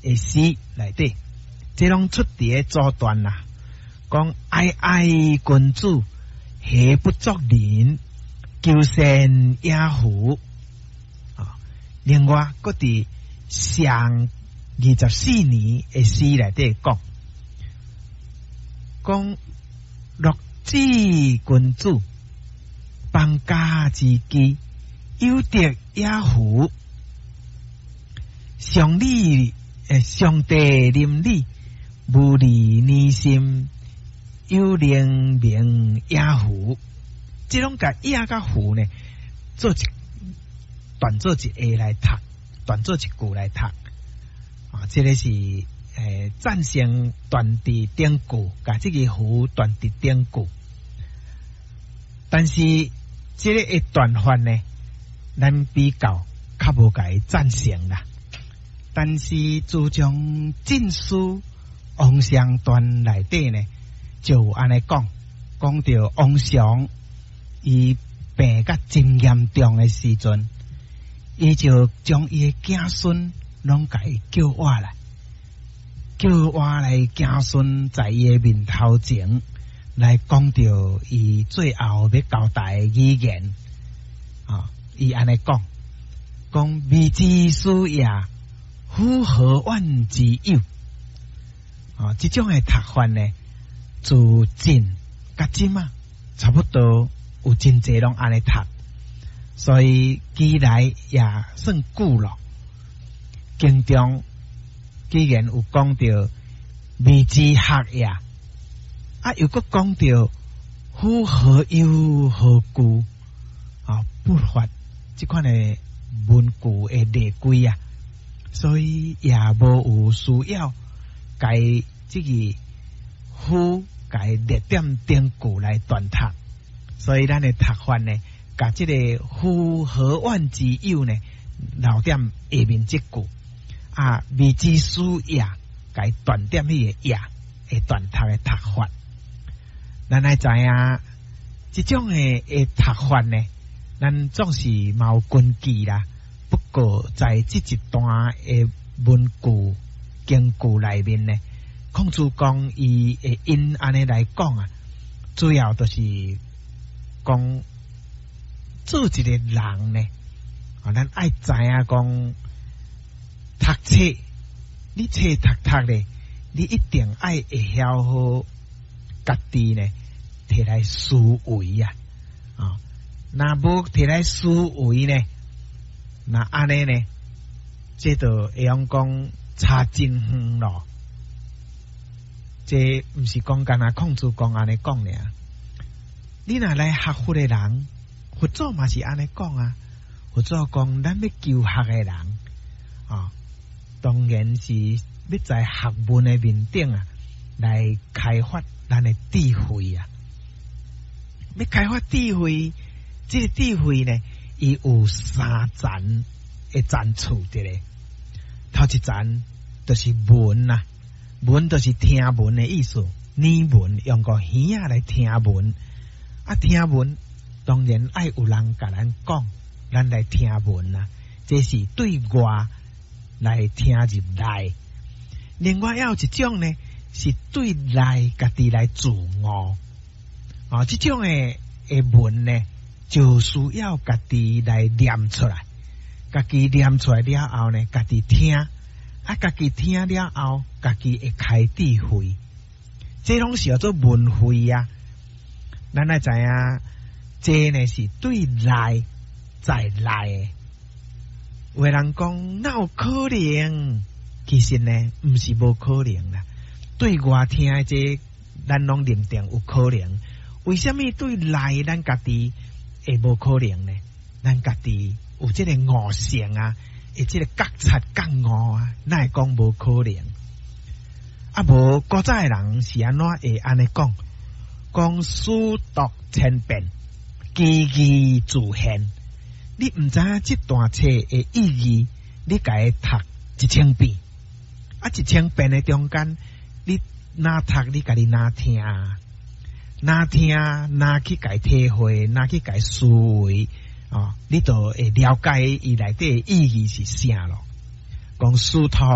的詩內底，這攏出佇个祖傳啦。講哀哀君子，何不作人？求善也夫。啊，另外，閣佇上24年的詩內底講，講樂子君子，邦家之基，有德也夫。上禮上帝鄰里，無離年心，有靈明也夫。這攏共也佮夫呢，做一斷做一下來讀，斷做一句來讀。啊，這个是贊成斷佇頂句，共這个夫斷佇頂句。但是這个的斷法呢，咱比較較無共伊贊成啦。但是自從晉書王祥傳內底呢，就有按呢講，講著王祥伊病甲真嚴重的時陣，伊就將伊的子孫攏共伊叫活來，叫活來子孫在伊的面頭前來講著伊最後欲交代的語言。啊，伊按呢講，講未知斯也，夫何怨之有？啊，這種的讀法呢，自晉佮今啊，差不多有真濟攏按呢讀，所以記來也算久咯。經中既然有講著未知學也，啊，又閣講著夫何憂何懼啊，不乏這款的文句的例規啊，所以也無有需要共這个夫共列點頂句來斷讀，所以咱的讀法呢，共這个夫何怨之有呢，留點下面這句啊，未知斯也，共斷點彼个也，會斷讀的讀法。咱愛知影這種的讀法呢，咱總是嘛有根據啦。不過在這一段的文句經句內面呢，孔子講伊會因按呢來講啊，主要就是講做一个人呢，啊，咱愛知影講讀冊，你冊讀讀咧，你一定愛會曉好家己呢，提來思維啊，啊，若無提來思維呢，那按呢呢，這就會用講差真遠咯。這毋是講干焦孔子講按呢講爾。你若來學佛的人，佛祖嘛是按呢講啊。佛祖講，咱欲求學的人啊，當然是欲在學問的面頂啊，來開發咱的智慧啊。欲開發智慧，這个智慧呢，伊有三層的層次佇咧。頭一層就是聞啊，聞就是聽聞的意思，耳聞用個耳仔來聽聞。啊，聽聞當然愛有人共咱講，咱來聽聞啊。這是對外來聽入來。另外，還有一種呢，是對內家己來自悟。啊，這種的聞呢，就需要家己來念出來，家己念出來了後呢，家己聽，啊，家己聽了後，家己會開智慧。這攏是叫做聞慧啊。咱愛知影，這呢是對內在內的。有的人講，哪有可能？其實呢，毋是無可能啦。對外聽的這，咱攏認定有可能。為啥物對內咱家己會無可能呢？咱家己有這個悟性啊，會這個覺察覺悟啊，哪會講無可能？啊，無古早的人是按怎會按呢講？講書讀千遍，其義自現。你毋知影這段冊的意義，你共伊讀一千遍，啊，一千遍的中間，你若讀你家己若聽，若聽，若去共體會，若去共思維，哦，你就會了解伊內底的意義是啥咯。講書讀。